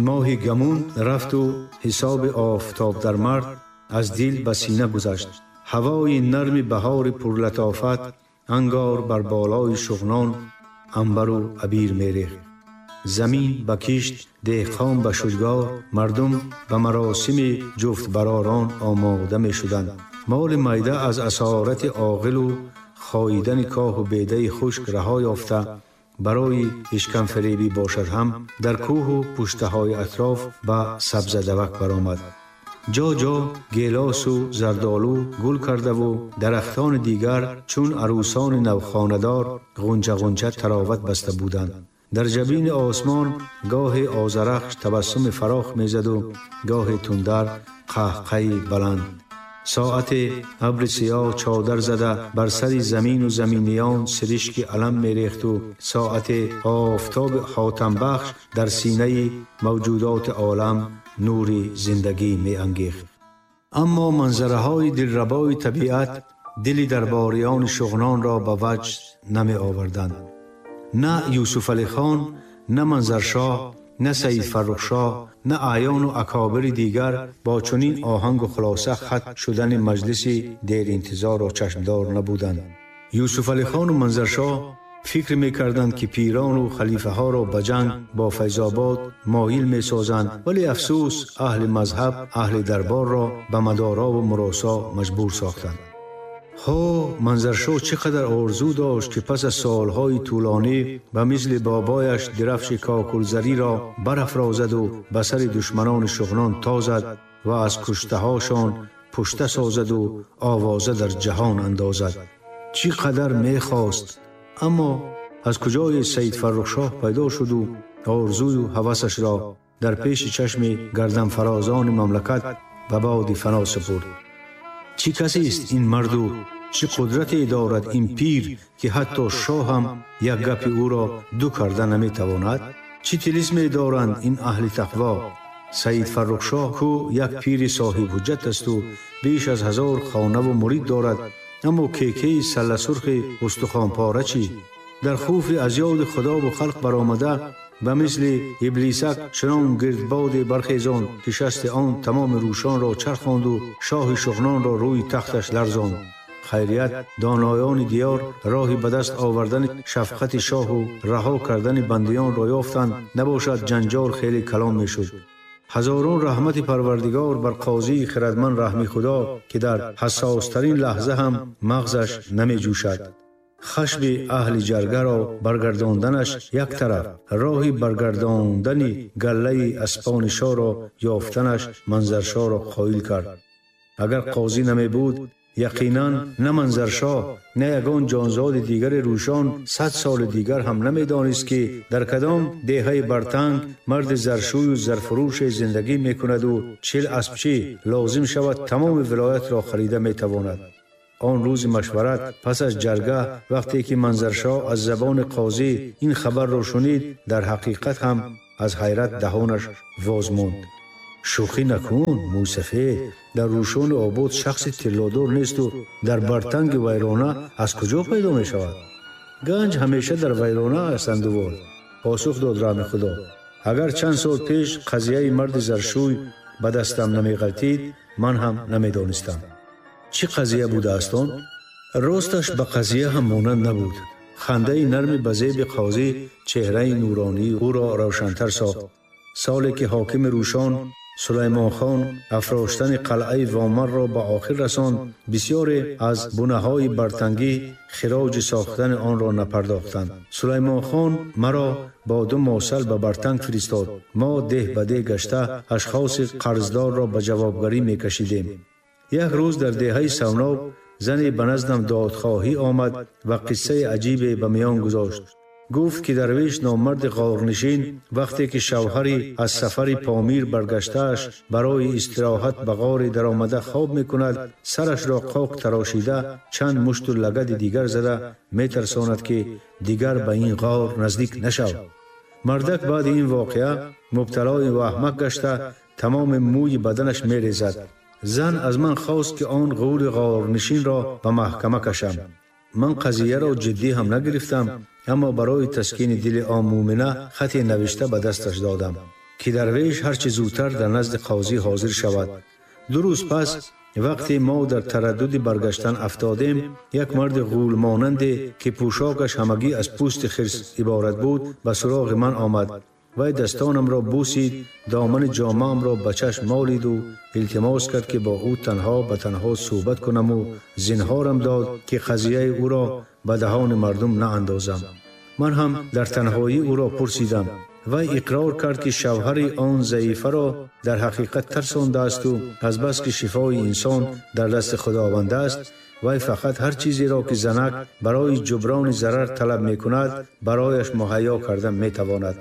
моҳи гамун рафту ҳисоби офтоб дар мард аз дил ба сина гузашт. Ҳавои нарми баҳори пурлатофат ангор бар болои Шуғнон анбару абир мерехт. Замин ба кишт, деҳқон ба шудгор, мардум ба маросими ҷуфтбаророн омода мешуданд. Моли майда аз асорати оғилу хоидани коҳу бедаи хушк раҳо ёфта, барои ишкамфиребӣ бошад ҳам дар кӯҳу пуштаҳои атроф ба сабзадавак баромад. Ҷо ҷо гелосу зардолу гул кардаву дарахтони дигар чун арӯсони навхонадор ғунча-ғунча тароват баста буданд. Дар ҷабини осмон гоҳе озарахш табассуми фарох мезаду гоҳе тундар қаҳқаи баланд. Соате абри сиёҳ чодар зада бар сари замину заминиён сиришки алам мерехту соате офтоби ҳотамбахш дар синаи мавҷудоти олам нури зиндагӣ меангехт. Аммо манзараҳои дилрабои табиат дили дарбориёни Шуғнонро ба ваҷд намеоварданд. На Юсуфалихон, на Манзаршоҳ, на Саид Фаррухшоҳ, на аъёну акобири дигар бо чунин оҳангу хулоса хат шудани маҷлиси деринтизорро чашмдор набуданд. Юсуфалихону Манзаршоҳ фикр мекарданд, ки пирону халифаҳоро ба ҷанг бо Файзобод моил месозанд, вале афсӯс, аҳли мазҳаб аҳли дарборро ба мадорову муросо маҷбур сохтанд. Ҳо, Манзаршоҳ чӣ қадар орзу дошт, ки пас аз солҳои тӯлонӣ ба мисли бобояш дирафши кокулзариро барафрозаду ба сари душманони Шуғнон тозад ва аз куштаҳошон пушта созаду овоза дар ҷаҳон андозад. Чӣ қадар мехост, аммо аз куҷое Саид Фаррухшоҳ пайдо шуду орзую ҳавасашро дар пеши чашми гарданфарозони мамлакат ба боди фано супурд. Чӣ касест ин марду, чӣ қудрате дорад ин пир, ки ҳатто шоҳ ҳам як гапи ӯро ду карда наметавонад? Чӣ тилисме доранд ин аҳли тақво? Саид Фаррухшоҳ ку як пири соҳибҳуҷҷат асту беш аз 1000 хонаву мурид дорад, аммо кекаи салласурхи устухонпора чӣ? Дар хуфи аз ёди худову халқ баромада ба мисли иблисак чунон гирдбоде бархезонд, ки шасти он тамоми рӯшонро чархонду шоҳи Шуғнонро рӯи тахташ ларзонд. Хайрият, доноёни диёр роҳи ба даст овардани шафқати шоҳу раҳо кардани бандиёнро ёфтанд, набошад ҷанҷол хеле калон мешуд. Ҳазорон раҳмати Парвардигор бар қозии хирадманд Раҳми Худо, ки дар ҳассостарин лаҳза ҳам мағзаш намеҷӯшад. Хашми аҳли ҷаргаро баргардонданаш як тараф, роҳи баргардондани галлаи аспони шоҳро ёфтанаш Манзаршоҳро қоил кард. Агар қозӣ намебуд, яқинан на Манзаршоҳ, на ягон ҷонзоди дигари рӯшон 100 соли дигар ҳам намедонист, ки дар кадом деҳаи бартанг марди заршӯю зарфурӯше зиндагӣ мекунаду 40 аспчӣ лозим шавад тамоми вилоятро харида метавонад. Он рӯзи машварат пас аз ҷарга, вақте ки Манзаршоҳ аз забони қозӣ ин хабарро шунид, дар ҳақиқат ҳам аз ҳайрат даҳонаш воз монд. Шӯхӣ накун, мӯйсафед, дар рӯшони обод шахси тиллодор несту дар бартанги вайрона аз куҷо пайдо мешавад? Ганҷ ҳамеша дар вайрона аст, андувор, посух дод Раҳми Худо. Агар чанд сол пеш қазияи марди заршӯй ба дастам намеғалтид, ман ҳам намедонистам. Чӣ қазия будааст он? Росташ ба қазия ҳам монанд набуд. Хандаи нарми ба зеби қозӣ чеҳраи нуронии ӯро равшантар сохт. Соле ки ҳокими рӯшон Сулаймонхон афроштани қалъаи Вомарро ба охир расонд, бисёре аз бунаҳои бартангӣ хироҷи сохтани онро напардохтанд. Сулаймонхон маро бо 2 мосал ба Бартанг фиристод. Мо деҳ ба деҳ гашта ашхоси қарздорро ба ҷавобгарӣ мекашидем. Як рӯз дар деҳаи Савноб зане ба наздам додхоҳӣ омад ва қиссаи аҷибе ба миён гузошт. Гуфт, ки дарвеш номарди ғорнишин вақте ки шавҳари аз сафари Помир баргаштааш барои истироҳат ба ғоре даромада хоб мекунад, сарашро қоқ тарошида чанд мушту лагади дигар зада метарсонад, ки дигар ба ин ғор наздик нашав. Мардак баъди ин воқеа мубталои ваҳмак гашта тамоми мӯи баданаш мерезад. Зан аз ман хост, ки он ғури ғорнишинро ба маҳкама кашам. Ман қазияро ҷиддӣ ҳам нагирифтам, аммо барои таскини дили он мӯмина хате навишта ба дасташ додам, ки дарвеш ҳарчи зудтар дар назди қозӣ ҳозир шавад. 2 рӯз пас вақте мо дар тараддуди баргаштан афтодем, як марди ғулмонанде ки пӯшокаш ҳамагӣ аз пӯсти хирс иборат буд ба суроғи ман омад. Вай дастонамро бусид, домани ҷомаамро ба чашм молид ва илтимос кард ки бо ӯ танҳо ба танҳо суҳбат кунам ва зинҳорам дод ки қазияи ӯро ба даҳони мардум наандозам. Ман ҳам дар танҳоӣ ӯро пурсидам. Вай иқрор кард ки шавҳари он заифаро дар ҳақиқат тарсондааст ва аз бас ки шифои инсон дар дасти Худованд аст, вай фақат ҳар чизеро ки занак барои ҷуброни зарар талаб мекунад, барояш муҳайё карда метавонад.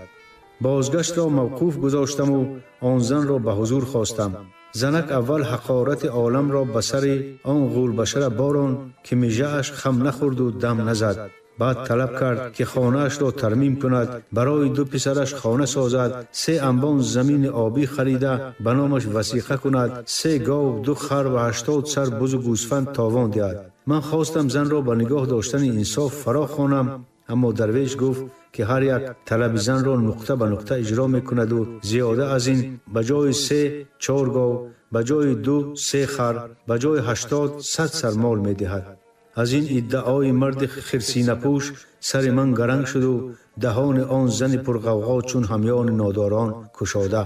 Бозгаштро мавқуф гузоштам ва он занро ба ҳузур хостам. Занак аввал ҳақорати оламро ба сари он ғулбашара борон ки мижааш хам нахӯрд ва дам назад. Баъд талаб кард ки хонаашро тармим кунад, барои 2 писараш хона созад, 3 анбон замини обӣ харида ба номаш васиқа кунад, 3 гов, 2 хар ва 80 сар бузу гӯсфанд товон диҳад. Ман хостам занро ба нигоҳ доштани инсоф фаро хонам, аммо дарвеш гуфт ки ҳар як талаби занро нуқта ба нуқта иҷро мекунад ва зиёда аз ин ба ҷои 3 4 гов, ба ҷои 2 3 хар, ба ҷои 80 100 сар мол медиҳад. Аз ин иддаои марди хирсинапӯш сари ман гаранг шуд ва даҳони он зани пурғавғо чун ҳамёни нодорон кушода.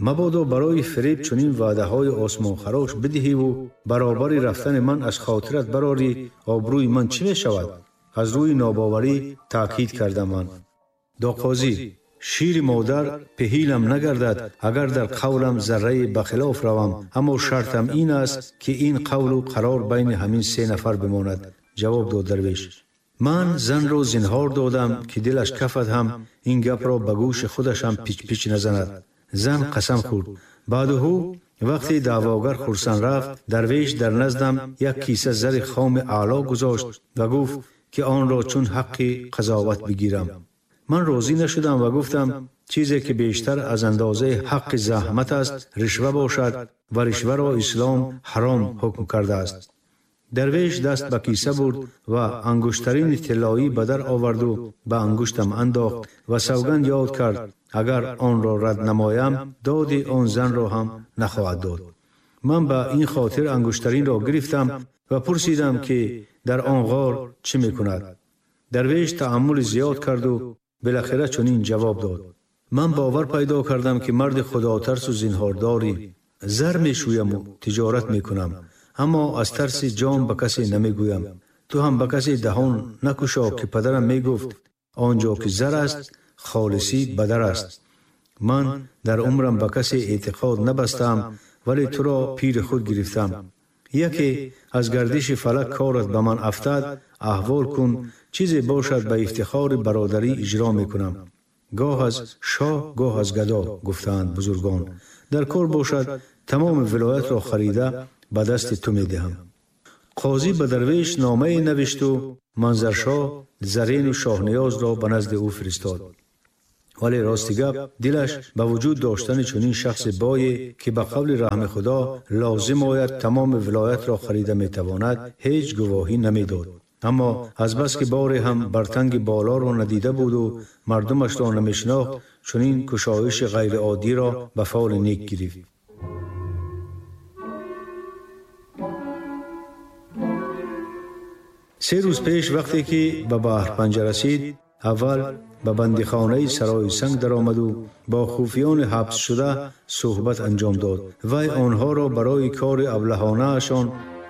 Мабодо барои фиреб чунин ваъдаҳои осмонхарош бидиҳиву баробари рафтани ман аз хотират барорӣ, обрӯи ман чӣ мешавад? Аз рӯи нобоварӣ таъкид кардам ман. Доқозӣ, шири модар пеҳилам нагардад, агар дар қавлам заррае ба хилоф равам, аммо шартам ин аст ки ин қавлу қарор байни ҳамин 3 нафар бимонад. Ҷавоб дод дарвеш. Ман занро зинҳор додам ки дилаш кафад ҳам ин гапро ба гӯши худаш ҳам пич-пич назанад. Зан қасам хӯрд. Баъдуҳу вақте даъвогар хурсанд рафт, дарвеш дар наздам як киса зари хоми аъло гузошт ва гуфт ки онро чун ҳаққи қазоват бигирам. Ман розӣ нашудам ва гуфтам чизе ки бештар аз андозаи ҳаққи заҳмат аст ришва бошад ва ришваро ислом ҳаром ҳукм кардааст. Дарвеш даст ба киса бурд ва ангуштарини тиллоӣ ба дар оварду ба ангуштам андохт ва савганд ёд кард агар онро рад намоям доди он занро ҳам нахоҳад дод. Ман ба ин хотир ангуштаринро гирифтам ва пурсидам ки дар он ғор чӣ мекунад. Дарвеш таъаммули зиёд карду билахира чунин ҷавоб дод. Ман бовар пайдо кардам ки марди худотарсу зинҳордорӣ. Зар мешӯяму тиҷорат мекунам, аммо аз тарси ҷон ба касе намегӯям. Ту ҳам ба касе даҳон накушо ки падарам мегуфт он ҷо ки зар аст, холисӣ бадар аст. Ман дар умрам ба касе эътиқод набастам, вале туро пири худ гирифтам. Яке аз гардиши фалак корат ба ман афтад, аҳвол кун, чизе бошад ба ифтихори бародарӣ иҷро мекунам. Гоҳ аз шоҳ, гоҳ аз гадо, гуфтаанд бузургон. Дар кор бошад тамоми вилоятро харида ба дасти ту медиҳам. Қозӣ ба дарвеш номае навишту Манзаршоҳ Зарену Шоҳниёзро ба назди ӯ фиристод. Вале рости гап дилаш ба вуҷуд доштани чунин шахси бое ки ба қавли раҳми Худо лозим ояд тамоми вилоятро харида метавонад, ҳеҷ гувоҳӣ намедод. Аммо аз бас ки боре ҳам бартанги болоро надида буду мардумашро намешинохт, чунин кушоиши ғайриоддиро ба фоли нек гирифт. 3 рӯз пеш вақте ки ба Баҳрпанҷа расид, аввал ба бандихонаи Сарои Санг даромаду бо хуфиёни ҳабсшуда суҳбат анҷом дод. Вай онҳоро барои кори аблаҳонаашон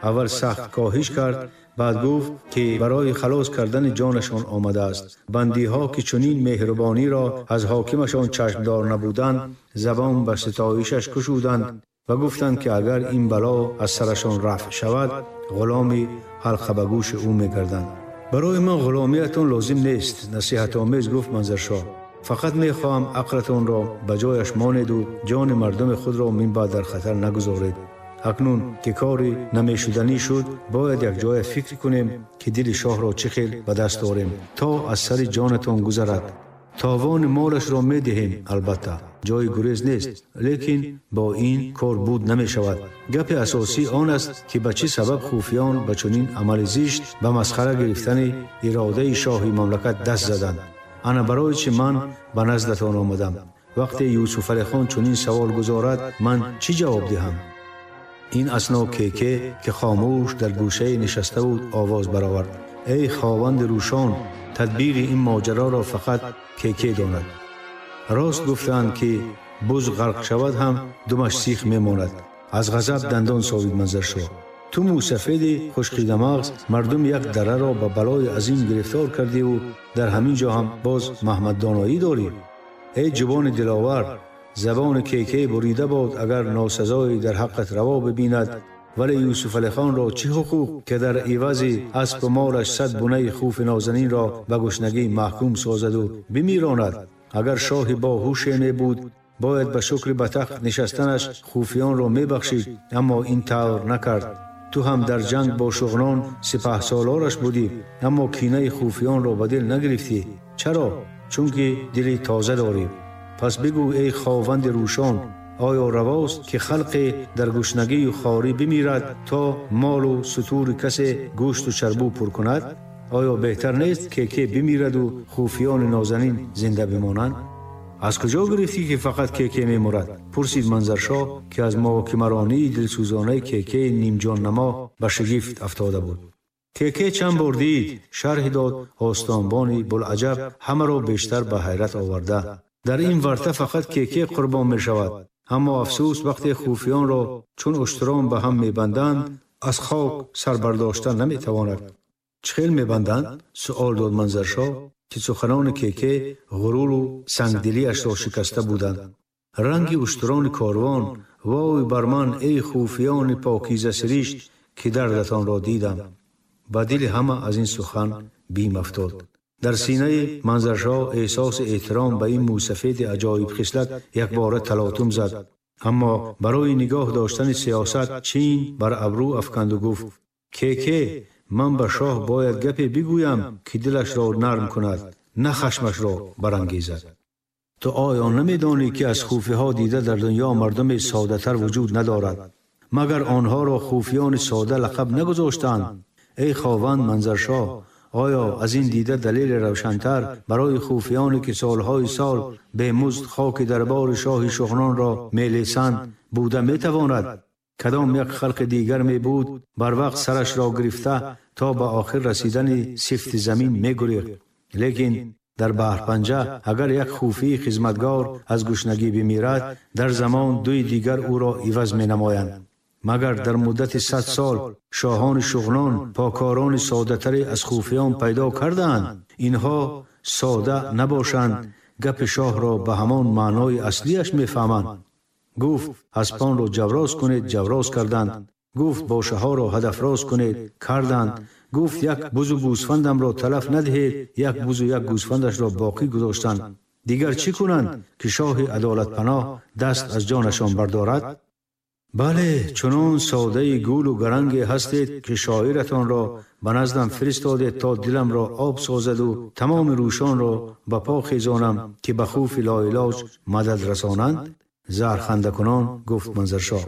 аввал сахт коҳиш кард, баъд гуфт ки барои халос кардани ҷонашон омадааст. Бандиҳо ки чунин меҳрубониро аз ҳокимашон чашмдор набуданд, забон ба ситоишаш кушуданд ва гуфтанд ки агар ин бало аз сарашон рафъ шавад, ғуломи ҳалқа ба гӯши ӯ мегарданд. Барои ман ғуломиятон лозим нест, насиҳатомез гуфт Манзаршоҳ. Фақат мехоҳам ақлатонро ба ҷояш монеду ҷони мардуми худро минбаъд дар хатар нагузоред. Акнун ки кори намешуданӣ шуд, бояд якҷоя фикр кунем ки дили шоҳро чӣ хел ба даст орем, то аз сари ҷонатон гузарад. Товони молашро медиҳем, албатта, ҷои гурез нест, лекин бо ин кор буд намешавад. Гапи асосӣ он аст ки ба чӣ сабаб хуфиён ба чунин амали зишт ба масхара гирифтани иродаи шоҳи мамлакат даст заданд. Ана барои чӣ ман ба наздатон омадам. Вақте Юсуфалихон чунин савол гузорад, ман чӣ ҷавоб диҳам? Ин асно Кеке, ки хомӯш дар гӯшае нишаста буд, овоз баровард: эй хованди Рӯшон, тадбири ин моҷароро фақат Кеке донад. Рост гуфтаанд, ки буз ғарқ шавад ҳам думаш сих мемонад. Аз ғазаб дандон совид Манзаршоҳ. Ту мӯсафеди хушқидамағз мардуми як дараро ба балои азим гирифтор кардиву дар ҳамин ҷо ҳам боз Маҳмаддоноӣ дорӣ. Эй ҷубони диловар, забони Кеке бурида бод, агар носазое дар ҳаққат раво бибинад. Вале Юсуфалихонро чӣ ҳуқуқ, ки дар ивази аспу молаш 100 бунаи хуфи нозанинро ба гушнагӣ маҳкум созаду бимиронад? Агар шоҳи боҳуше мебуд, бояд ба шукри ба тахт нишастанаш хуфиёнро мебахшид, аммо ин тавр накард. Ту ҳам дар ҷанг бо шуғнон сипаҳсолораш будӣ, аммо кинаи хуфиёнро ба дил нагирифтӣ. Чаро? Чунки дили тоза дорӣ. Пас бигӯ, эй хованди Рӯшон, оё равост, ки халқе дар гушнагию хорӣ бимирад, то молу сутури касе гӯшту чарбу пур кунад? Оё беҳтар нест, Кеке бимираду хуфиёни нозанин зинда бимонанд? Аз куҷо гирифтӣ, ки фақат Кеке мемурад? Пурсид Манзаршоҳ, ки аз муҳокимаронии дилсӯзонаи Кекеи нимҷоннамо ба шигифт афтода буд. Кеке чанд бор дид, шарҳ дод остонбони Булъаҷаб, ҳамаро бештар ба ҳайрат оварда. Дар ин варта фақат Кеке қурбон мешавад. Аммо афсӯс, вақте хуфиёнро чун уштурон ба ҳам мебанданд, аз хок сар бардошта наметавонад. Чӣ хел мебанданд? Суол дод Манзаршоҳ, ки суханони Кеке ғуруру сангдилиашро шикаста буданд. Ранги уштурони корвон, вой бар ман, эй хуфиёни покизасиришт, ки дардатонро дидам. Ба дили ҳама аз ин сухан бим афтод. Дар синаи Манзаршоҳ эҳсоси эҳтиром ба ин мӯсафеди аҷоибхислат якбора талотум зад. Аммо барои нигоҳ доштани сиёсат чин бар абрӯ афканду гуфт: Кеке, ман ба шоҳ бояд гапе бигӯям, ки дилашро нарм кунад, на хашмашро барангезад. Ту оё намедонӣ, ки аз хуфиҳо дида дар дунё мардуми содатар вуҷуд надорад? Магар онҳоро хуфиёни сода лақаб нагузоштанд? Эй хованд Манзаршоҳ, оё аз ин дида далели равшантар барои хуфиёне, ки солҳои сол бемузд хоки дарбори шоҳи шуғнонро мелесанд, буда метавонад? Кадом як халқи дигар мебуд, барвақт сарашро гирифта то ба охир расидани сифти замин мегурехт. Лекин дар баҳрпанҷа агар як хуфии хизматгор аз гушнагӣ бимирад, дар замон дуи дигар ӯро иваз менамоянд. Магар дар муддати 100 сол шоҳони шуғнон покорони содатаре аз хуфиён пайдо кардаанд? Инҳо сода набошанд, гапи шоҳро ба ҳамон маънои аслиаш мефаҳманд. Гуфт: аспонро ҷавроз кунед, ҷавроз карданд. Гуфт: бошаҳоро ҳадафроз кунед, карданд. Гуфт: як бузу гӯсфандамро талаф надиҳед, як бузу як гӯсфандашро боқӣ гузоштанд. Дигар чӣ кунанд, ки шоҳи адолатпаноҳ даст аз ҷонашон бардорад? Бале, чунон содаи гулу гаранге ҳастед, ки шоиратонро ба наздам фиристодед, то диламро об созаду тамоми рӯшонро ба по хезонам, ки ба хуфи лоилоҷ мадад расонанд? Зархандакунон гуфт Манзаршоҳ.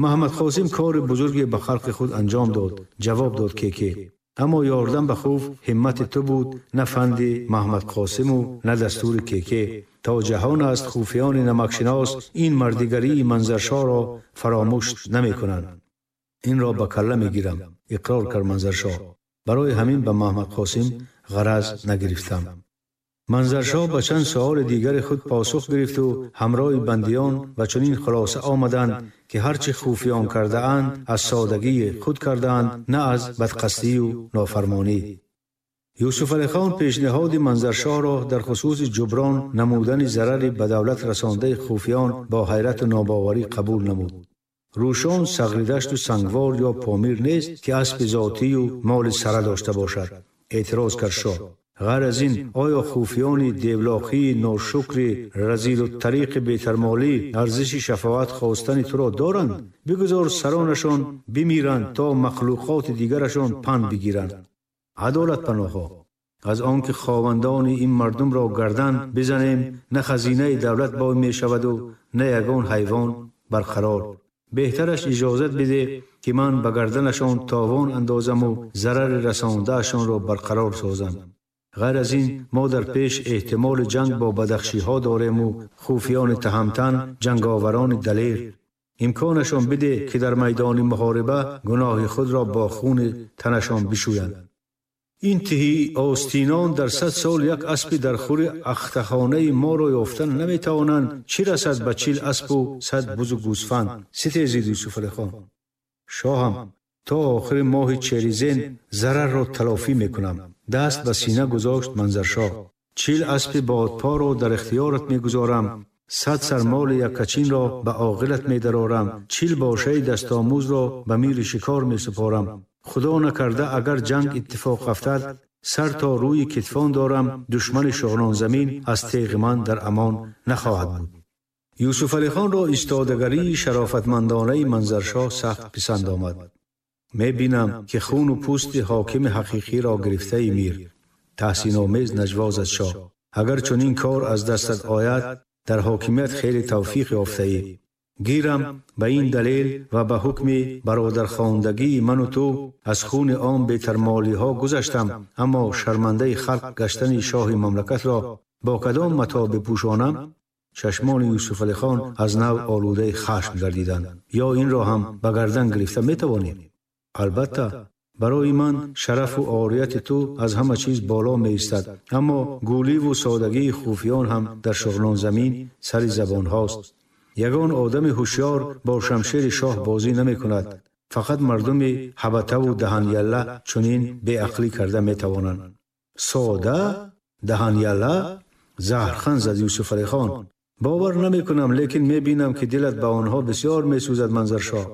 Маҳмад Қосим кори бузурге ба халқи худ анҷом дод, ҷавоб дод Кеке. Аммо ёрдам ба хуф ҳиммати ту буд, на фанди Маҳмад Қосиму на дастури Кеке. То ҷаҳон аст, хуфиёни намакшинос ин мардигарии Манзаршоҳро фаромӯш намекунанд. Инро ба калла мегирам, иқрор кард Манзаршоҳ. Барои ҳамин ба Маҳмад Қосим ғараз нагирифтам. Манзаршоҳ ба чанд суоли дигари худ посух гирифту ҳамроҳи бандиён ба чунин хулоса омаданд, ки ҳарчи хуфиён кардаанд, аз содагии худ кардаанд, на аз бадқасдию нофармонӣ. Юсуфалихон пешниҳоди Манзаршоҳро дар хусуси ҷуброн намудани зарари ба давлат расондаи хуфиён бо ҳайрату нобоварӣ қабул намуд. Рӯшон Сағридашту Сангвор ё Помир нест, ки аспи зотию моли сара дошта бошад, эътироз кард шоҳ. Ғайр аз ин, оё хуфиёни девлоқии ношукри разилу тариқи бетармолӣ арзиши шафоат хостани туро доранд? Бигузор саронашон бимиранд, то махлуқоти дигарашон панд бигиранд. Адолатпаноҳҳо, аз он ки ховандони ин мардумро гардан бизанем, на хазинаи давлат бой мешаваду на ягон ҳайвон барқарор. Беҳтараш иҷозат бидеҳ, ки ман ба гарданашон товон андозаму зарари расондаашонро барқарор созам. Ғайр аз ин, мо дар пеш эҳтимоли ҷанг бо бадахшиҳо дорему хуфиёни таҳамтан, ҷанговарони далер. Имконашон биде, ки дар майдони муҳориба гуноҳи худро бо хуни танашон бишӯянд. Ин тиҳи остинон дар 100 сол як аспи дар хури ахтахонаи моро ёфтан наметавонанд, чӣ расад ба 40 аспу 100 бузу гӯсфанд? Ситезид Юсуфалихон. Шоҳам, то охири моҳи черизен зарарро талофӣ мекунам. Даст ба сина гузошт Манзаршоҳ. 40 аспи бодпоро дар ихтиёрат мегузорам, 100 сар моли яккачинро ба оғилат медарорам, 40 бошаи дастомӯзро ба мири шикор месупорам. Худо накарда агар ҷанг иттифоқ афтад, сар то рӯи китфон дорам, душмани шуғнонзамин аз теғи ман дар амон нахоҳад буд. Юсуфалихонро истодагарии шарофатмандонаи Манзаршоҳ сахт писанд омад. Мебинам, ки хуну пӯсти ҳокими ҳақиқиро гирифтаи мир. Таҳсиномез наҷво зад шоҳ. Агар чунин кор аз дастат ояд, дар ҳокимият хеле тавфиқ ёфтаӣ. Гирам ба ин далел ва ба ҳукми бародархондагии ману ту аз хуни он бетармолиҳо гузаштам, аммо шармандаи халқ гаштани шоҳи мамлакатро бо кадом матоъ бипӯшонам? Чашмони Юсуфалихон аз нав олудаи хашм гардиданд. Ё инро ҳам ба гардан гирифта метавонӣ? Албатта, барои ман шарафу орияти ту аз ҳама чиз боло меистад, аммо гӯливу содагии хуфиён ҳам дар шуғнонзамин сари забонҳост. Ягон одами ҳушёр бо шамшери шоҳ бозӣ намекунад. Фақат мардуми ҳабатаву даҳанялла чунин беақлӣ карда метавонанд. Сода? Даҳанялла? Заҳрхан зад Юсуфалихон. Бовар намекунам, лекин мебинам, ки дилат ба онҳо бисёр месӯзад, Манзаршоҳ.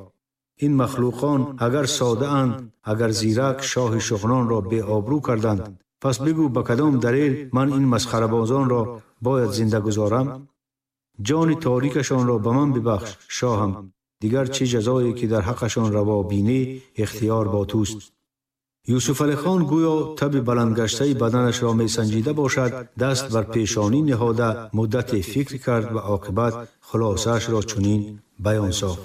Ин махлуқон агар содаанд, агар зирак шоҳи шуғнонро беобрӯ карданд, пас бигӯ ба кадом далел ман ин масхарабозонро бояд зинда гузорам? Ҷони торикашонро ба ман бибахш, шоҳам. Дигар чӣ ҷазое ки дар ҳаққашон раво бинӣ, ихтиёр бо туст. Юсуфалихон гӯё таби баландгаштаи баданашро месанҷида бошад, даст бар пешонӣ ниҳода муддате фикр кард ва оқибат хулосаашро чунин баён сохт.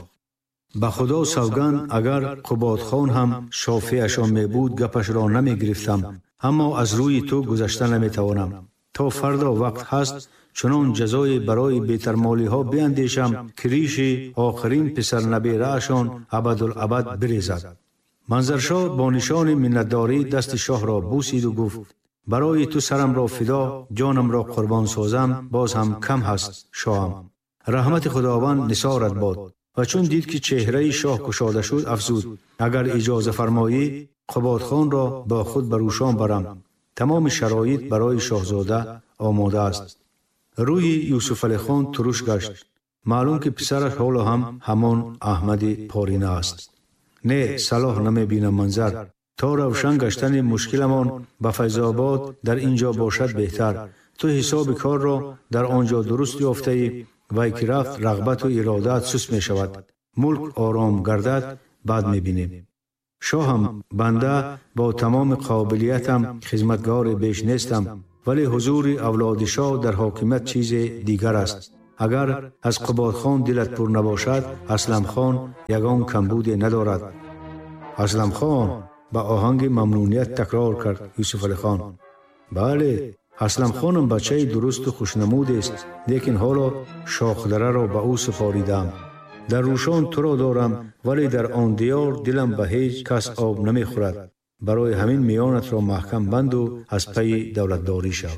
Ба Худо савганд, агар Қубодхон ҳам шофеашон мебуд, гапашро намегирифтам, аммо аз рӯи ту гузашта наметавонам. То фардо вақт ҳаст, чунон ҷазое барои бетармолиҳо биандешам, ки риши охирин писарнабераашон абадулабад бирезад. Манзаршоҳ бо нишони миннатдорӣ дасти шоҳро бусиду гуфт: барои ту сарамро фидо, ҷонамро қурбон созам, боз ҳам кам ҳаст, шоҳам. Раҳмати Худованд нисорат бод. Ва чун дид, ки чеҳраи шоҳ кушода шуд, афзуд: агар иҷоза фармоӣ, Қубодхонро бо худ ба Рӯшон барам. Тамоми шароит барои шоҳзода омода аст. Рӯи Юсуфалихон туруш гашт. Маълум, ки писараш ҳоло ҳам ҳамон Аҳмади порина аст. Не, салоҳ намебинам, Манзар. То равшан гаштани мушкиламон ба Файзобод дар ин ҷо бошад беҳтар. Ту ҳисоби корро дар он ҷо дуруст ёфтаӣ, вай ки рафт, рағбату иродаат суст мешавад. Мулк ором гардад, баъд мебинем. Шоҳам, банда бо тамоми қобилиятам хизматгори беш нестам, вале ҳузури авлоди шоҳ дар ҳокимият чизе дигар аст. Агар аз Қубодхон дилат пур набошад, Асламхон ягон камбуде надорад. Асламхон? Ба оҳанги мамнуният такрор кард Юсуфалихон. Бале, Асламхонам бачаи дурусту хушнамудест, лекин ҳоло шохдараро ба ӯ супоридаам. Дар Рӯшон туро дорам, вале дар он диёр дилам ба ҳеҷ кас об намехӯрад. Барои ҳамин миёнатро маҳкам банду аз пайи давлатдорӣ шав.